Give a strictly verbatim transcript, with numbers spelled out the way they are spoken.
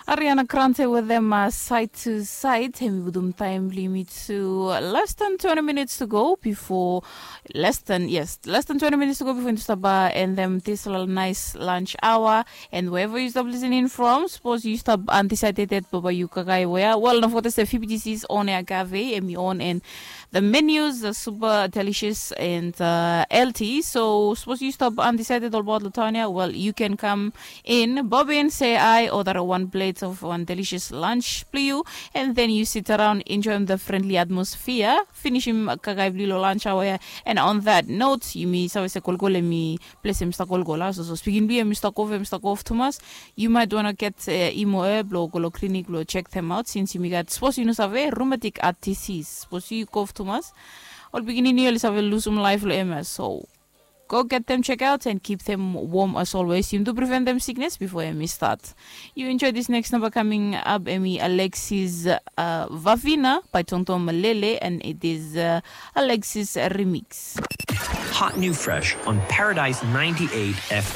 Ariana Grande with them uh, side to side. Hemi vudum time limit to less than twenty minutes to go before less than yes, less than twenty minutes to go before into staba and them this little nice lunch hour. And wherever you stop listening from, suppose you stop undecided baba you kakai where. Well, no for the F B T C's on air cafe and me on and the menus are super delicious and uh, healthy. So suppose you stop undecided all about Latanya, well, you can come in, Bobby, and say I order one plate of one delicious lunch, please, and then you sit around enjoying the friendly atmosphere. Finish him kakai blilo lunch hour. And on that note, you me sabe se kolkole me place Mr. Kolkola. So, so speaking be Mr. Kove, Mr. Kov Thomas, you might wanna get uh, imo e blo kolo clinic blo check them out since you me got suppose you know save rheumatic arthritis. Suppose you Kov Thomas. Ol pikinini oli save losum laef lo M S. So go get them check out and keep them warm as always. Yum to prevent them sickness before M E start. You enjoy this next number coming up, Emi Alexis uh, Vavina by Tonton Malele, and it is uh, Alexis Remix. Hot new fresh on Paradise ninety-eight F M.